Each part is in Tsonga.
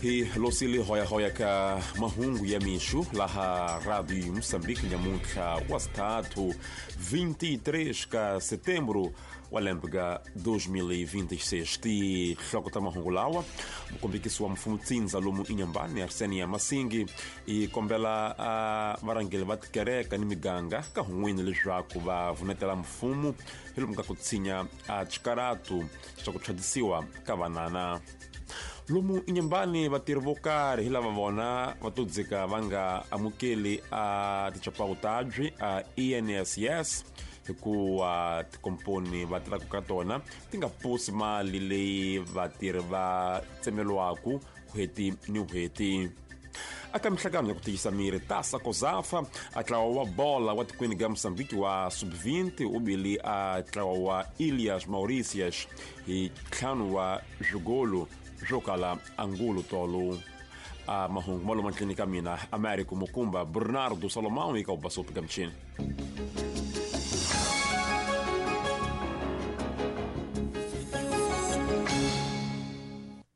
Hi losile hoyahoya ka mahungu ya mixo laha Radio Moçambique nyamuntlha wa sithathu 23 ka setembro wa lembe ka 2026. Tinhloko ta mahungu lawa: mukombekisi wa mfumo tsindza lomu inyambani Arsenia Masingi i kombela varhangeri va tikereka ni miganga ka hun'wini leswaku va vunetela mfumo hi lomu ka ku tshinya a xikaratu xa ku tlhadisiwa ka vanana. Lomu inyambani vatirhi vo karhi hi lava vona va to dzika va nga amukeli a tichapawu tabyi a ENSS hikuva tikomponi va tirhaka ka tona ti nga posi mali leyi vatirhi va tsemeliwaku n'hweti ni n'hweti. Aka mihlangano ya ku tiyisa miri Tasa Kozafa a ntlawa wa bola wa tikweni ga Mozambique wa sub-20 u bile a ntlawa wa Ilias Mauritius hi ntlhanu wa swigolo swo kala angulo tolo. A mahungu ma loma ndleni ka mina Americo Mukumba Bernardo Salomão eka ubasopi ka michini.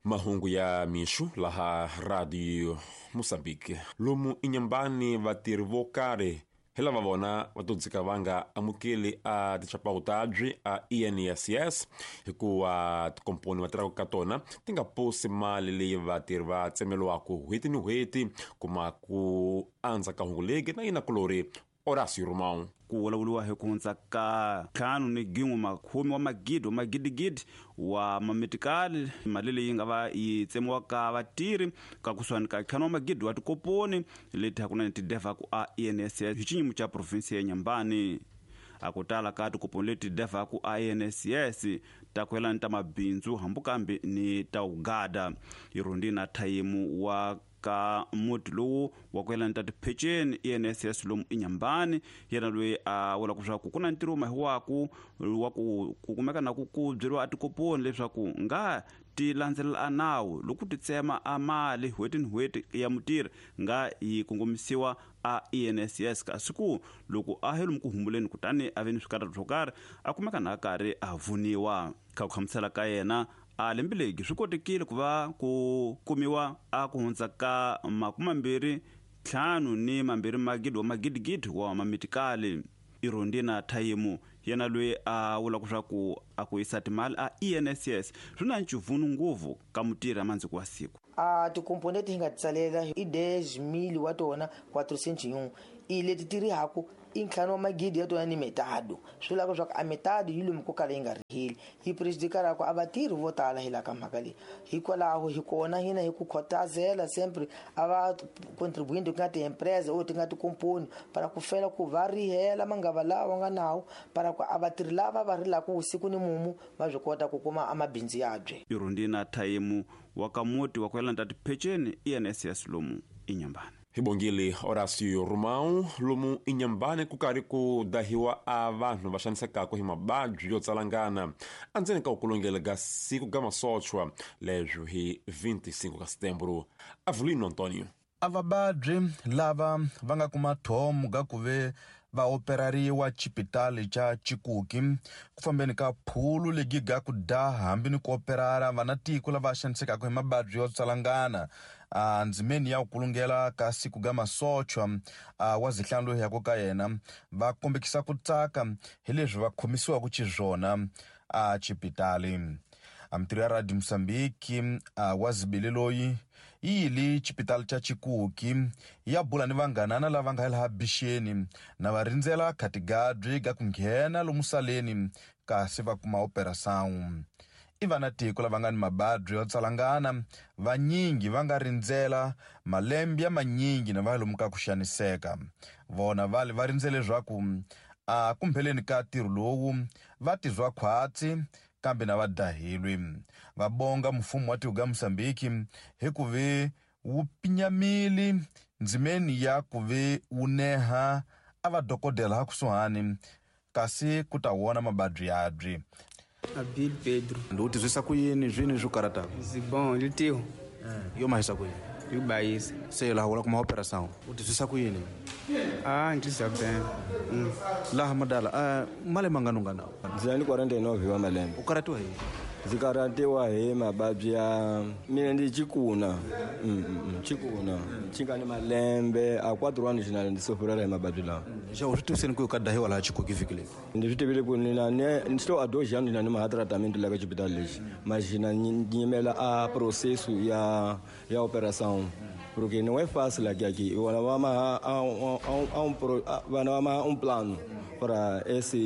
Mahungu ya mixo laha Radio Mozambique. Lomu inyambani vatirhi vo karhi hi lava vona va to dzika va nga amukeli a tichapawu tabyi a ENSS hikuva tikomponi va tirhaka ka tona ti nga posi mali leyi vatirhi va tsemeliwaku n'hweti ni n'hweti. Kuma ku andza ka hungu legi na yina kulori Horácio Romão. Ku vulavuriwa hi ku hundza ka ntlhanu ni gin'we makhume wa magidi wa magidigidi wa mamitikali, mali leyi nga va yi tsemiwaka vatirhi ka kusuhani ka ntlhanu wa magidi wa tikoponi leti hakunene ti devhaku a ENSS hi xinyimo xa provinsi ya Nyambani. A ku tala ka tikoponi leti devhaku a ENSS ta ku yelana ta mabindzu hambi kambe ni ta ugada. Irundi na thayimu wa ka muti lowu wa ku yelana ta tipheceni ENSS lomu inyambani, yena loyi a vula leswaku ku na ntirho mahiwaku wa ku ku kumeka na ku ku byeriwa a tikoponi leswaku nga ti landzelela a nawu loko ti tsema a mali n'hweti ni n'hweti ya mutirhi nga yi kongomisiwa a ENSS, kasi ku loko a he lomu ku humbuleni kutani a ve ni swikarhato swo karhi a kumeka na karhi a vuniwa. Ka ku hlamusela ka yena a lembe legi swi kotekile ku va ku kumiwa a ku hundza ka makumambirhi ntlhanu ni mambirhi magidi wa magidigidi wa mamitikali. Irondina Thayimu yena loyi a vulaka leswaku a ku yisa timali a ENSS swi na ncivunu ngopfu ka mutirhi a mandziko wa siku. A tikomponi leti hi nga ti tsalela i 10,000 wa tona 401 i leti ti rihaku i ntlhanu wa magidi ya tona ni metado. Swi vula leswaku a metado yi lomu ko kala yi nga riheli yi prejudikara ku a vatirhi vo tala hi laha ka mhaka leyi. Hikwalaho hi kona hina hi ku khotazela sempre a va contribuinte ku nga ti-empresa or ti nga tikomponi para ku fela ku va rihela mangava lawa nga nawu para ku a vatirhi lava va rilaka vusiku ni mumu va swi kota ku kuma a mabindzu yabye. Irondina Thayimu wa ka muti wa ku yelana ta tipheceni ENSS lomu inyambani. Hi bongile Horácio Romão. Lomu inyambani ku karhi ku dahiwa a vanhu va xanisekaka hi mababyi yo tsalangana endzeni ka ukulungela ga siku ga masochwa leswi hi 25 ka setembro. Avelino Antonio. A vababyi lava va nga kuma thomo ga ku ve va operariwa xipitali xa Chikuki ku fambeni ka phulu legi ga ku daha hambi ni ku operara vana tiko lava xanisekaka hi mababyi yo tsalangana a ndzimeni ya ku kulungela ka siku ga masochwa a wa zihlanu loyi yako ka yena va kombekisa ku tsaka hi leswi va khomisiwaka xiswona a xipitali. A mitirho ya Radio Mozambique a wa zibele loyi yi yile xipitali xa Chikuki ya bula ni vanghanana lava nga laha bixeni na va rindzela khatigadyi ga ku nghena lomu saleni kasi va kuma operação. I vana tiko lava nga ni mababyi yo tsalangana vanyingi va nga rindzela malembe ya manyingi na va lomu ka ku xaniseka. Vona vale va rindzele leswaku a kumpheleni ka ntirho lowu va tizwa khwatsi kambe na va dahilwi. Va bonga mfumo wa tiko ga Mozambique hi ku ve wu pinyamile ndzimeni ya ku ve wu neha a va dokodela ha kusuhani kasi ku ta wona mababyi yabyi. Abil Pedro. Ndi u tizwisa ku yini zwini swi karata? Zibon litiho. Yo mahisa ku yini? Yubayisa. Se laha wula kuma operação. U tizwisa ku yini? Ah, ndzi ben. Laha madala, male mangano ngana. Ndzi ni 49 wa malembe. U karatiwa hi? Ndzi karhatiwa hi mavabyi ya mina ndi chikuna chikuna xi nga ni malembe a 4 anos na ndzi sofrela hi mavabyi lawa. Xa u swi tiviseni ku ka dahiwa laha Chikuki vhiki leyi? Ndzi swi tivile ku nina ni estou há 2 anos na ni maha tratamento la ka xibedhlele lexi, mas na nyimela a processo ya operação porque não é fácil aqui aqui. Vana va maha um plano para essa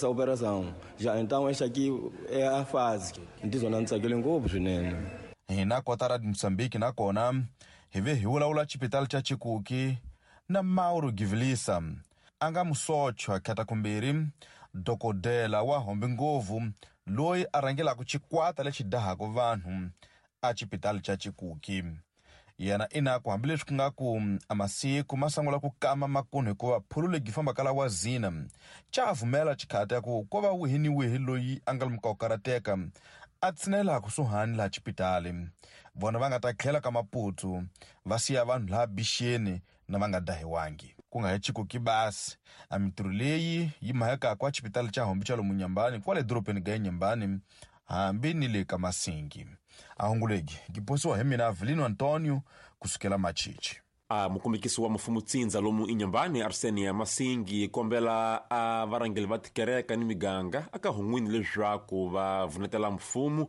operação. Já então esta aqui é a fase. Ndizona ndzi tsakile ngopfu swinene. Hina kota ra Mozambique nakona hi ve hi vulavula xipitali xa Chikuki na Mauro Givilisa a nga musochwa khatakumbirhi dokodela wa hombe ngopfu loyi a rhangelaka xikwata lexi dahaka vanhu a xipitali xa Chikuki. Yena inaku hambileswi ku nga ku a masiku ma sungula ku kama makunhu hikuva phulu legi fambaka la wa zina cha vumela xikhati ya ku ko va wihi ni wihi loyi a nga lomuka ku karateka a tshinela kusuhani laha xipitali. Vona va nga ta tlhela ka Maputo va siya vanhu laha bixeni na va nga dahiwangi. Ku nga hi Chikuki basi a mintirho leyi yi mahekaka a xipitali xa Hombe xa lomu Nyambani kwale dorobeni ga Nyambani hambi ni le ka Masingi. A hungulegi giposiwa hi mina Avelino Antonio kusukela Machichi. A mukombekisi wa mfumo tsindza lomu inyambani Arsenia Masingi kombela a varhangeli va tikereka ni miganga aka hun'wini leswaku va vunetela mfumo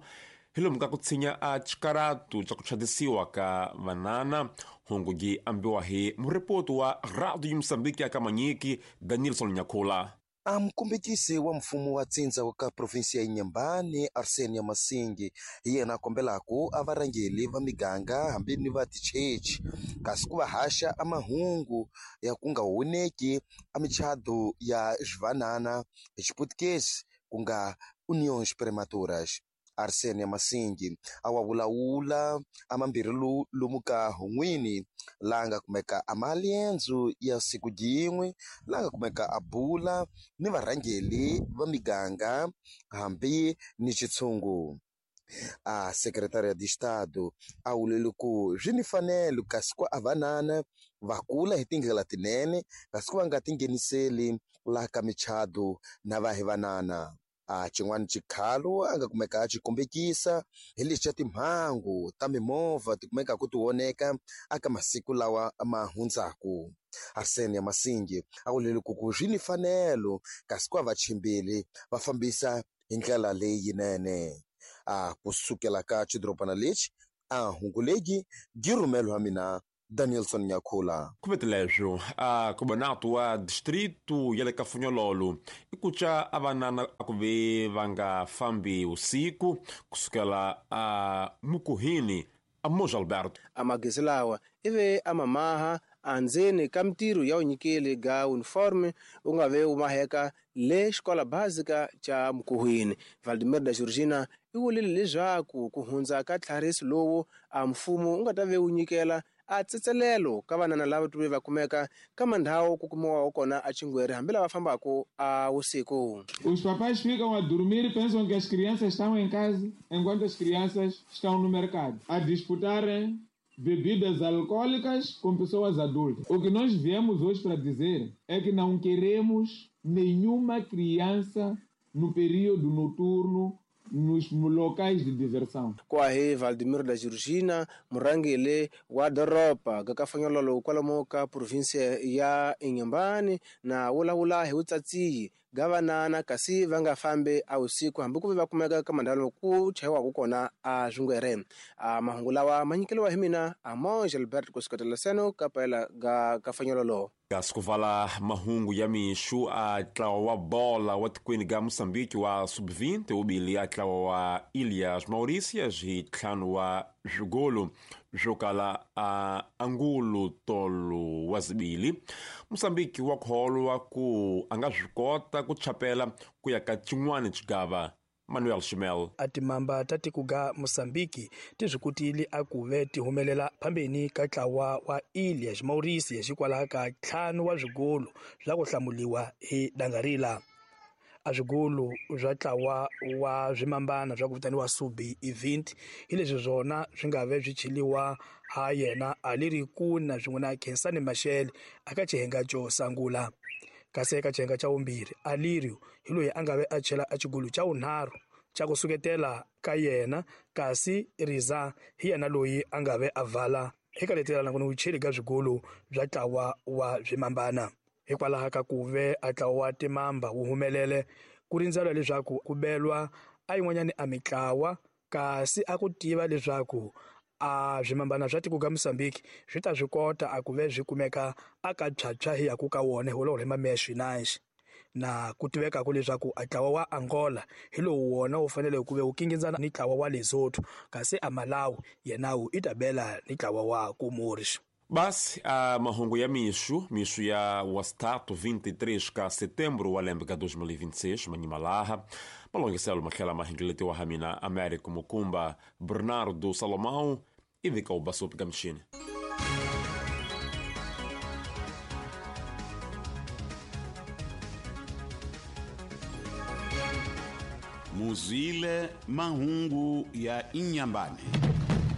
hi lomu ka ku tshinya a xikaratu xa ku chadisiwa ka vanana. Hungu gi ambiwa hi muripoti wa Radio Mozambique aka Manyiki Danielson Nyakhula. A mukombekisi wa mfumo wa tsindza wa ka provinsi ya Inhambane Arsenia Masingi hi yena a kombelaku a varhangeli va miganga hambi ni va tichechi kasi ku va haxa a mahungu ya ku nga honeki a michado ya swivanana hi Xiputukezi ku nga uniões prematuras. Arsenia Masingi a wa vulavula a mambirhi lomu ka hun'wini laha nga kumeka a maliendzo ya siku jin'we laha nga kumeka a bula ni varhangeli va miganga hambi ni xitshungu. A Secretaria de Estado a vulele ku swi ni fanelo kasi ku a vanana va kula hi tindlela tinene kasi ku va nga tingheniseli laha ka michado na va hi vanana. A xin'wana xikhalo a nga kumeka a xi kombekisa hi lexi xa timhangu ta mimovha ti kumekaka ti oneka aka masiku lawa ma hundzaku. Arsenia Masingi a vulele ku ku swi ni fanelo kasi ku va vachimbeli va fambisa hi ndlela leyinene. A kusukela ka xidorobana lexi a hungu legi gi rhumelo wa mina Danielson Nyakhula. Kuveteleswo a kubonato wa distrito ya le ka Funyololo i ku ca a vanana a ku ve va nga fambi usiku kusukela a Mukuhini a Moja Alberto. A magezi lawa ive a mamaha andzeni ka mintirho ya vunyikeli ga uniforme u nga ve u maheka le xikola básica xa Mukuhwini. Valdemir da Georgina i vulile leswaku ku hundza ka tlhariso lowu a mfumo u nga ta ve wu nyikela a tsetselelo ka vanana lava tuve va kumeka ka mandhawu ku kumiwaho kona a Chingweri hambi lava fambaka a usiku. Os papais ficam a dormir e pensam que as crianças estão em casa, enquanto as crianças estão no mercado, a disputarem bebidas alcoólicas com pessoas adultas. O que nós viemos hoje para dizer é que não queremos nenhuma criança no período noturno nos locais de diversão. Kwahe Valdemir da Georgina murhangeli wa doroba ga Kafanyololo kwalomu ka provinsia ya Inhambane na vulavula hi vutsatsiyi ga vanana kasi va nga fambi a usiku hambi ku ve va kumeka ka mandhawu ku chayiwaka kona a swingwere. A mahungu lawa ma nyikeliwa hi mina Amos Albert kusukela seno ka paela ga Kafanyololo. Kasi ku vala mahungu ya mixu a ntlawa wa bola wa tikweni ga Mozambique wa sub-20 wu bile a ntlawa wa Ilhas Mauritius hi ntlhanu wa swigolo swo kala a angulo tolo wa zibili. Mozambique wa kholwa ku a nga swi kota ku chapela ku ya ka xin'wana xigava. Manuel Shimel. A timamba ta tiko ga Mozambique ti swi kotile a ku ve ti humelela phambeni ka ntlawa wa Ilhas Mauritius hikwalaho ka 5 wa swigolo swa ku hlamuliwa hi dangarila. A swigolo swa ntlawa wa swimambana swa ku vitaniwa Subi Event hi leswi swona swi nga ve swi cheliwa ha yena a leri kuna swin'we na Khensani Mashele aka xihenga xo sungula. Kasi eka xihenga xa vumbirhi Alirio hi loyi a nga ve a chela a xigolo xa vunharhu xa ku suketela ka yena, kasi Riza hi yena loyi a nga ve a vala eka letelana ku ni vucheli ka swigolo bya ntlawa wa swimambana. Hikwalaho ka ku ve a ntlawa wa timamba wu humelele ku rindzela leswaku ku belwa a yin'wanyani a mitlawa, kasi a ku tiva leswaku a swimambana swa tiko ka Mozambique swi ta swi kota a ku ve swi kumeka a ka phyaphyya hi yaku ka wona hi mameya swinanxi. Na ku tivekaka leswaku a ntlawa wa Angola hi lowu wona wu fanele ku ve wu kingindzana ni ntlawa wa Lesotho, kasi a Malawi yenawu i ta bela ni ntlawa wa Comores. Basi a mahungu ya mixo, mixo ya wasitatu 23 ka setembro wa lembe ka 2026, manyimalaha malongiselo matlhela mahengeletiwa ha mina Américo Mukumba, Bernardo Salomão ivi ka ubasopi ka mixini. Muzwile mahungu ya Inyambane.